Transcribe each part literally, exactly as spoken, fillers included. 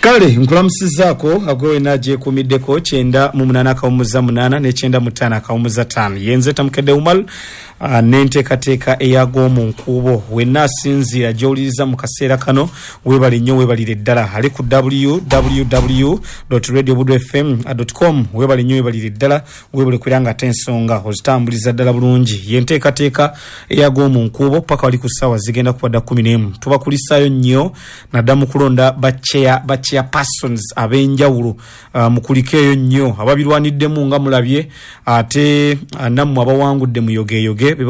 Kale nkulamusizaako agwe wena gyekuumiddeko kyenda mu munaana akawumuza munaana n'ekyenda mu ttaano akawumuza ttaano. Yenze Tamukedde Umar uh, n'enteekateeka eyag'omu nkuubo. Wenna asinziira gy'owuliriza mu kaseera kano, weebale nnyo, weebalire ddala. Ali ku w w w radio budu f m com, weebale nnyo, weebalire ddala, weebale kubeera nga ate ensonga ozitambuliza ddala bulungi. Yenteekateeka eyag'omu nkuubo paka wali ku ssaawa zigenda kuba dda kumi n'emu. Tubakulisaayo nnyo nadda mu kulonda bachair bachair persons ab'enjawulo. uh, mukulikeeyo nnyo ababirwaniddemu nga mulabye, ate uh, nammwe abawangudde muyogeyoge be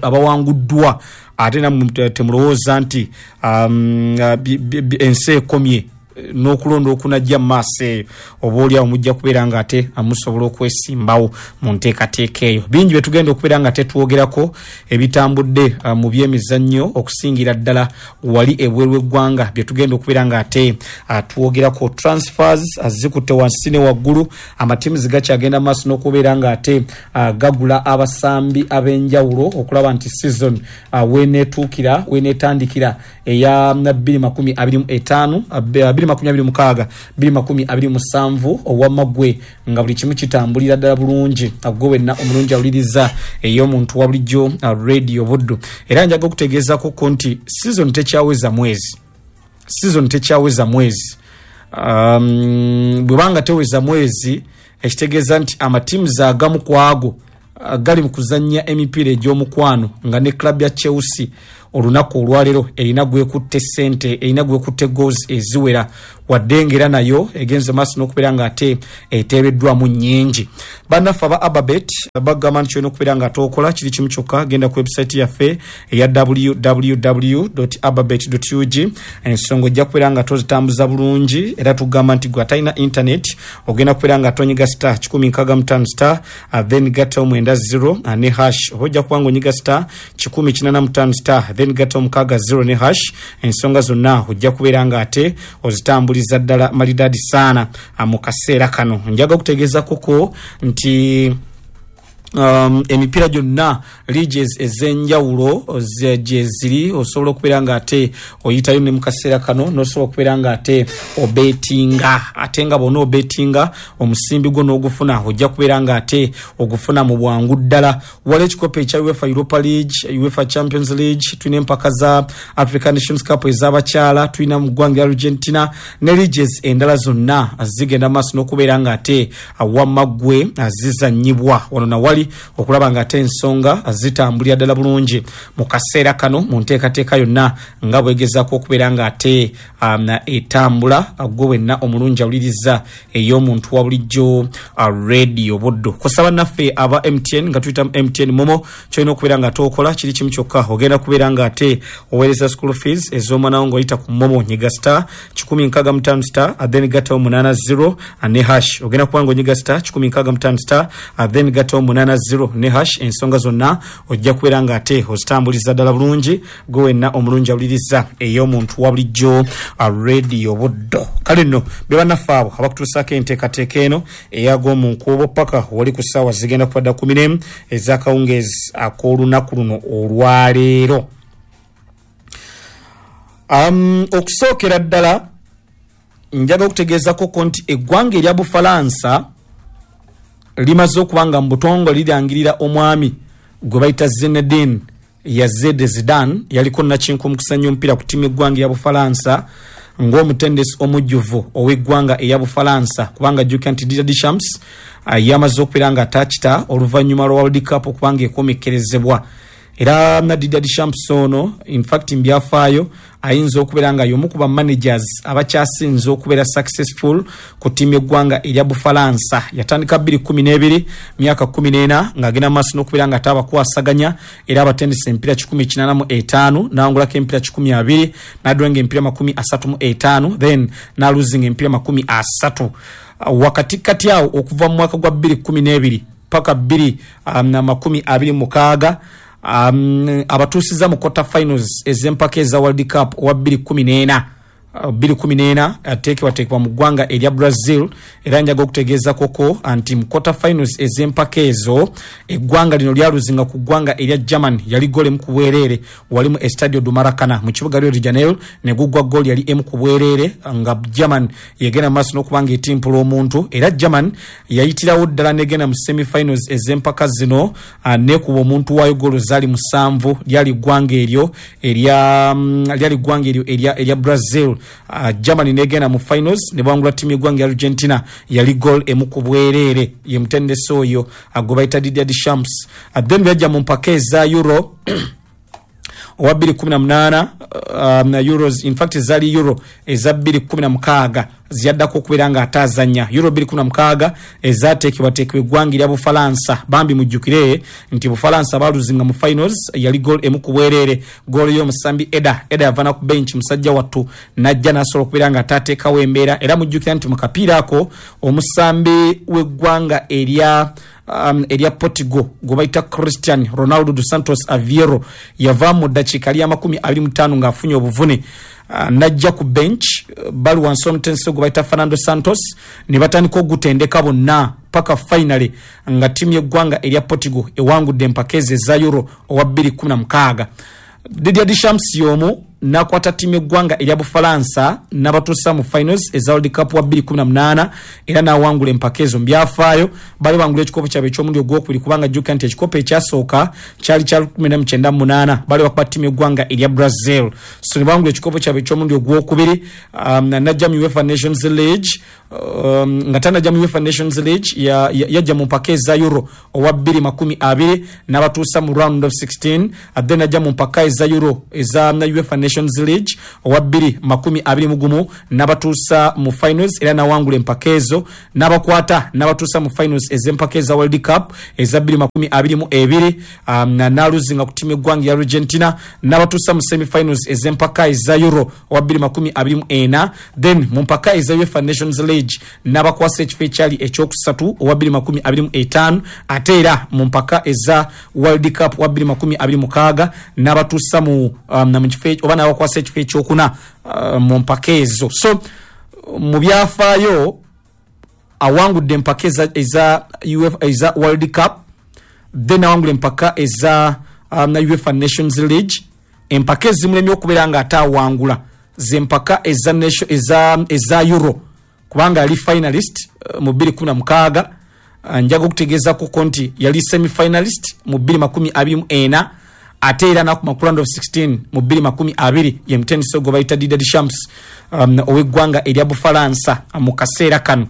abawanguddwa, ate nammwe temulowooza nti um, uh, ensi ekomye n'okulonda okunajja mu maaso eyo. Oba oliawo mujja kubeera nga ate musobola okwesimbawo mu nteekateeka eyo. Bingi bye tugenda okubeera nga tetwogerako ebitambudde uh, mu byemizannyo, okusingira ddala wali ebweru w'eggwanga, bye tugenda okubeera nga ate uh, twogerako. Transfers uh, zikutte wansi ne waggulu, amatiimu gakyagenda maaso n'okubeera nga ate gagula abasambi ab'enjawulo okulaba nti season weneetuukira, weneetandikira eya bbiri makumi abiri mu ttaano, bbiri makumi abiri mukaaga, bbiri makumi abiri musanvu, owamaggwe nga buli kimu kitambulira ddala bulungi. Gwe wenna omulungi awuliriza ey'omuntu wa bulijjo Radio Buddu, era njaga okutegeezako nti season tekyaweza mwezi, season tekyaweza mwezi. um, bwebanga teweza mwezi, ekitegeeza nti amatiimu agamu ku ago gali mu kuzannya emipiira egy'omukwano, nga ne club ya Chelsea olunaku olwaleero erina gwekutte sente, erina gwekutte goals eziwera, wadde ng'era nayo egenze maaso n'okubeera nga ate eteebeddwamu nnyingi. Bannaffe aba Ababet bagamba nti kyolina okubeera nga ate okola kiri kimu kyokka, genda ku website yaffe eya w w w ababet ug, ensonga ojja kubeera nga tozitambuza bulungi. Era tugamba nti gwe atalina internet ogenda kubeera nga tonyiga star kikumi nkaaga mu ttaano star, then gattawo mwenda zero ne hash, oba ojja kuba nga onyiga star kikumi kinaana mu ttaano star, then gattawo mukaaga zero ne hash. Ensonga zonna ojja kubeera nga ate ozitambuliza ddala malidadi saana. Mu kaseera kano njaga okutegeeza koko nti um, emipiira gyonna, leagues ez'enjawulo gye ziri, osobola okubeera nga ate oyitayo ne mu kaseera kano n'osobola okubeera nga ate obetinga, ate nga bwona obetinga omusimbi gwo n'ogufuna, ojja kubeera nga ate ogufuna mu bwangu ddala. Wali ekikopo ekya UEFA Europa League, UEFA Champions League, tulina empaka za African Nations Cup ez'abakyala, tulina mu ggwanga lya Argentina ne leagues endala zonna zigenda maaso n'okubeera nga ate wamaggwe zizanyibwa wano nawali, okulaba nga ate ensonga zitambulira ddala bulungi mu kaseera kano mu nteekateeka yonna nga bwegezaako okubeera nga ate um, etambula. Gwe wenna omulungi awuliriza ey'omuntu wa bulijjo uh, Radio Buddu, kusaba naffe aba M T N nga tuyita M T N MoMo, kyolina okubeera nga ate okola kiri kimu kyokka, ogenda kubeera nga ate oweereza school fees ez'omwana wo ng'oyita ku MoMo. Nyiga star kikumi nkaaga mu ttaano star, then gattawo munaana zero ne hash. Ogenda kuba nga onyiga star kikumi nkaaga mu ttaano star, then gattawo munaana zero ne hash. Ensonga zonna ojja kubeera nga ate ozitambuliza ddala bulungi, gwe wenna omulungi awuliriza ey'omuntu wa bulijjo Radio Buddo. Kale nno be bannaffe abo abakutuusaako enteekateeka eno eyag'omu nkuubo paka wali ku ssaawa zigenda kuba dda kumi n'emu ez'akawungeezi ak'olunaku luno olwaleero. um, okusookera ddala njaga okutegeezako nti eggwanga erya Bufalansa limaze okuba nga mu butongole lirangirira omwami gwe bayita Zinedine Yazid Zidane, yaliko nakinku mu kusanya omupiira ku ttiimu eggwanga eya Bufalansa, ng'omutendesi omujjuvu ow'eggwanga eya Bufalansa, kubanga jjukira nti Didier Deschamps uh, yamaze okubeera nga atakita oluvannyuma lwa World Cup okubanga ekomekkerezebwa. Era na Didier Deschamps ono, infact mbyafaayo ayinza okubeera nga y'omu ku ba managers abakyasinze okubeera successful ku ttiimu eggwanga erya Bufalansa. Yatandika bbiri kumi n'ebiri, myaka kumi n'ena ng'agenda mu maaso n'okubeera nga ate abakwasaganya, era abatendesa emipiira kikumi kinaana mu etaano, n'awangulako emipiira kikumi abiri, n'adwenga emipiira makumi asatu mu etaano, then n'aluzinga emipiira makumi asatu. Wakati kati awo okuva mu mwaka gwa bbiri kumi n'ebiri paka bbiri um, makumi abiri mukaaga, um, abatuusiza mu quarter finals ez'empaka eza World Cup owa bbiri kumi n'ena. bbiri kumi n'ena ateekebwateekebwa mu ggwanga erya Brazil. Era njaga okutegeeza koko nti mu quarter finals ez'empaka ezo eggwanga lino lyaluzinga ku ggwanga erya German, yali goal emu ku bwereere wali mu Estadio do Maracana mu kibuga Rio de Janeiro, ne guggwa goal yali emu ku bwereere nga German yegenda mu maaso n'okuba nga etimpula omuntu. Era German yayitirawo ddala negenda mu semifinals ez'empaka zino nekuba omuntu waayo goal zaali musanvu. Lyali ggwanga eryo erya lyali ggwanga eryo erya erya Brazil. Uh, Germany negenda mu finals ne bawangula ttiimu y'eggwanga ya Argentina, yali goal emu ku bwereere. Ye mutendesi oyo gwe bayita Didier Deschamps. Uh, then byajja mu mpaka eza Euro owa bbiri kumi na munaana, um, Euros, in fact zaali Euro eza bbiri kumi na mukaaga ziyaddako okubeera nga ataazannya. Euro bbiri kumi na mukaaga ezaateekebwateekebwa eggwanga erya Bufalansa. Bambi mujjukire nti Bufalansa baaluzinga mu finals, yali goal emu ku bwereere, goal y'omusambi Eda. Eda yava ku bench musajja wattu n'ajja n'asobola okubeera nga ataateekawo embeera. Era mujjukira nti mu kapiira ako omusambi w'eggwanga erya um, erya Portugal gwe bayita Cristiano Ronaldo dos Santos Aveiro yava mu ddakiika lya makumi abiri mu ttaano ng'afunye obuvune, uh, n'ajja ku bench, bali wansi omutendesi gwe bayita Fernando Santos ne batandika ogutendeka bonna paka finally nga ttiimu y'eggwanga erya Portugal ewangudde empaka ezo eza Euro owa bbiri kumi na mukaaga. Didier Deschamps y'omu n'akwata ttiimu y'eggwanga erya Bufalansa n'abatuusa mu finals eza World Cup wa bbiri kumi na munaana era n'awangula empaka ezo. Mu byafaayo bali bangula ekikopo kyabwe eky'omulundi ogwokubiri, kubanga jjukira nti ekikopo ekyasooka kyali kya lukumi mu kyenda mu munaana, bali bakuba ttiimu y'eggwanga erya Brazil. So ne bawangula ekikopo kyabwe eky'omulundi ogwokubiri. um, najja mu UEFA Nations League, um, nga tanajja mu UEFA Nations League yajja mu mpaka eza Euro owa bbiri makumi abiri n'abatuusa mu round of sixteen. Then najja mu mpaka eza Euro eza UEFA Nations League owa bbiri makumi abiri mu gumu n'abatuusa mu finals era n'awangula empaka ezo, n'abakwata n'abatuusa mu finals ez'empaka eza World Cup eza bbiri makumi abiri mu ebiri, um, n'aluzinga ku ttiimu y'eggwanga ya Argentina n'abatuusa mu semifinals ez'empaka eza Euro owa bbiri makumi abiri mu ena. Then mu mpaka eza UEFA Nations League n'abakwasa ekifo ekyali ekyokusatu owa bbiri makumi abiri mu etaano. Ate era mu mpaka eza World Cup owa bbiri makumi abiri mukaaga n'abatuusa mu um, mu kifo oba n'abakwasa ekifo ekyokuna uh, mu mpaka ezo. So mu byafaayo awangudde empaka eza, eza, eza World Cup, then awangula empaka eza um, UEFA Nations League. Empaka ezimulemye okubeera nga ate awangula z'empaka eza, eza, eza Euro, kubanga yali finalist uh, mu bbiri kumi na mukaaga. Uh, njaga okutegeezako nti yali semi-finalist mu bbiri makumi abiri mu ena, ate era n'akuma ku round of sixteen mu bbiri makumi abiri. Ye mutendesi gwe bayita Didier Deschamps um, ow'eggwanga erya Bufalansa mu kaseera kano.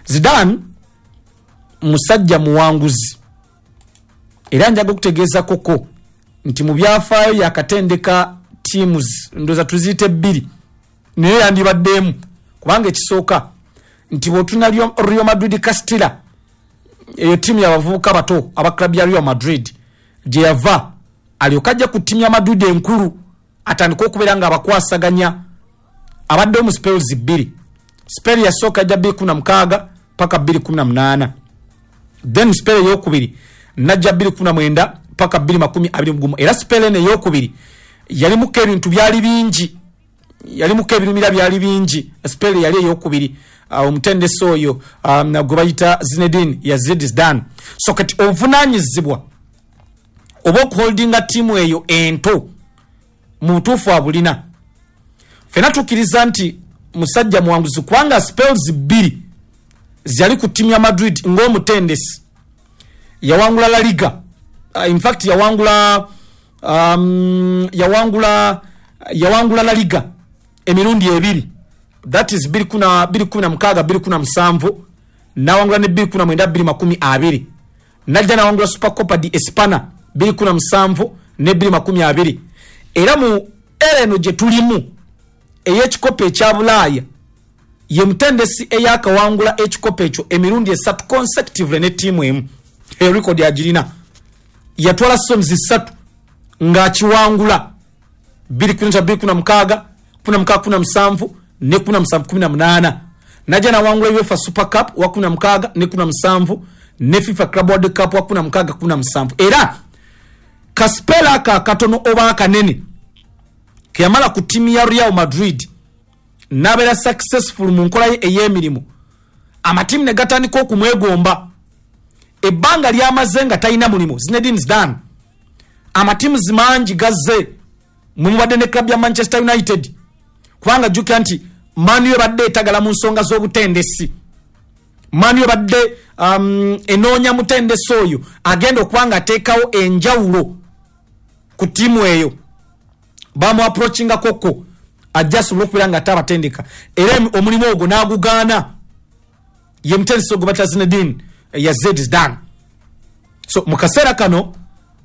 Zidane musajja muwanguzi, era njaga okutegeeza koko nti mu byafaayo yakatendeka teams ndowooza tuziyite bbiri, naye yandibaddemu, kubanga ekisooka nti bw'otuna Real Madrid Castilla, eyo ttiimu y'abavubuka bato aba club ya Real Madrid gye yava, alyoka ajja ku ttiimu ya Madrid enkulu atandika okubeera nga abakwasaganya. Abaddewo mu spells bbiri. Spell yasooka ajja bbiri kumi na mukaaga paka bbiri kumi na munaana, then spell eyokubiri najja bbiri kumi na mwenda paka bbiri makumi abiri mu gumu. Era spell eno eyokubiri yalimuko ebintu byali bingi, yalimuko ebirumira byali bingi. Spell yali eyokubiri omutendesi uh, oyo um, gwe bayita Zinedine Yazid Zidane. So kati obuvunaanyizibwa oba okuholdinga ttiimu eyo ento mu butuufu abulina. Ffenna tukkiriza nti musajja muwanguzi, kubanga spells bbiri ziyali ku ttiimu ya Madrid ng'omutendesi. Yawangula La Liga, uh, in fact yawangula um, yawangula yawangula La Liga emirundi ebiri, that is bbiri kumi na mukaaga bbiri kumi na musanvu, n'awangula ne bbiri kumi na mwenda bbiri makumi abiri. Najja n'awangula Supercopa di Espana bbiri kumi na musanvu ne bbiri makumi abiri. Era mu era eno gye tulimu ey'ekikopo ekya Bulaaya, ye mutendesi eyakawangula ekikopo ekyo emirundi esatu consecutively ne ttiimu emu. Eyo record agirina. Yatwala seasons ssatu ng'akiwangula bbiri kumi na bbiri kumi na mukaaga, kumi na mukaaga kumi na musanvu ne kumi na musanvu kumi na munaana. Najja n'awangula UEFA Super Cup wa kumi na mukaaga ne kumi na musanvu ne FIFA Club World Cup wa kumi na mukaaga kumi na musanvu. Era kaspela aka katono oba akanene ke yamala ku ttiimu ya Real Madrid N'abeera successful mu nkola ye ey'emirimu, amatiimu ne gatandika okumwegomba. Ebbanga lyamaze nga talina mulimu Zinedine Zidane, amatiimu mangi gazze, mwe mubadde ne club ya Manchester United, kubanga jjukira nti Man U ebadde etagala mu nsonga z'obutendesi. Man U ebadde um, enoonya mutendesi oyo agenda okuba nga ateekawo enjawulo ku ttiimu eyo. Bamu approachingakoko ajja asobole okubeera nga ate abatendeka, era omulimu ogwo n'agugaana. Ye mutendesi ogwo bata Zinedine Yazid Zidane. So mu kaseera kano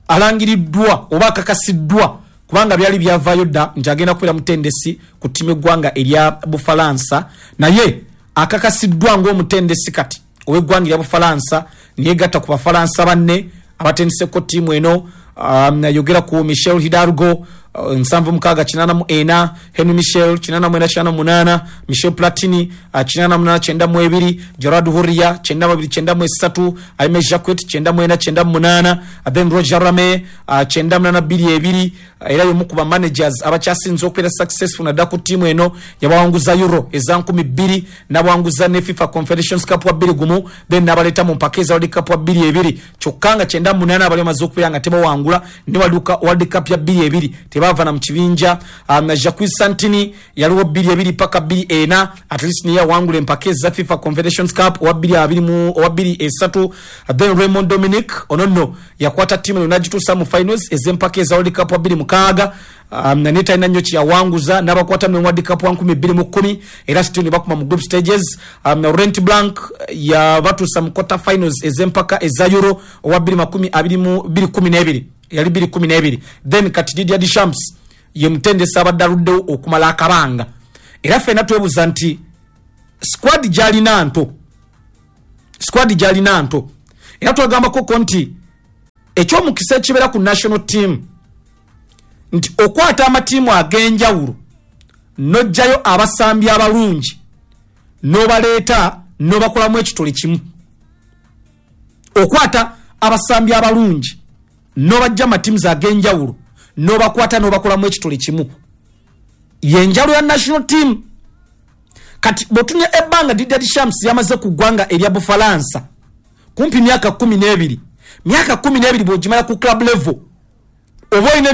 alangiriddwa oba akakasiddwa, kubanga byali byavaayo dda nti agenda kubeera mutendesi ku ttiimu eggwanga erya Bufalansa, naye akakasiddwa ng'omutendesi kati ow'eggwanga erya Bufalansa. Niyegatta ku Bafalansa banne abatendeseko ttiimu eno. um, yogera ku Michel Hidalgo, uh, nsanvu mukaaga kinaana mu ena, Henry Michel kinaana mwenda kinaana munaana, Michel Platini uh, kinaana munaana kyenda mu ebiri, Gerard Houllier kyenda mu abiri kyenda mu esatu, Aime Jacquet kyenda mwena kyenda mu munaana, uh, then Roger Rame uh, kyenda munaana bbiri ebiri. uh, era yomu ku bamanagers abakyasinze okubeera successful naddala ku ttiimu eno. Yabawanguza Euro eza nkumi bbiri, nabawanguza ne FIFA Confederations Cup wa bbiri gumu, then nabaleeta mu mpaka eza World Cup wa bbiri ebiri. Kyokka nga kyenda munaana abali bamaze okubeera nga tebawangula ne World Cup ya bbiri ebiri, tebava na mu kibinja. um, Jacques Santini yaliwo bbiri ebiri paka bbiri ena, at least niye yawangula empaka eza FIFA Confederations Cup owa bbiri abiri mu owa bbiri esatu. Then Raymond Domenech, ono nno yakwata ttiimu eno n'agituusa mu finals ez'empaka eza World Cup wa bbiri mukaaga, um, naye talina nnyo kyeyawanguza. N'abakwata mu World Cup wa nkumi bbiri mu kkumi, era still ne bakuma mu group stages. um, Laurent Blanc yabatuusa mu quarter finals ez'empaka eza Euro owa bbiri makumi abiri mu bbiri kumi n'ebiri, yali bbiri kumi n'ebiri. Then kati Didier Deschamps ye mutendesi abadde aluddewo okumala akabanga, era ffenna twebuuza nti squad gyalina nto, squad gyalina nto. Era twagambakoko nti ekyomukisa ekibeera ku national team nti okwata amatiimu ag'enjawulo n'ojjayo abasambi abalungi n'obaleeta n'obakolamu ekitole kimu. Okwata abasambi abalungi n'obajja amatiimu ag'enjawulo n'obakwata n'obakolamu ekitole kimu, yenjawulo ya national team. Kati bw'otunya ebbanga Didier Deschamps yamaze ku ggwanga erya Bufalansa kumpi myaka kumi n'ebiri, myaka kumi n'ebiri bw'ogimala ku club level oba olina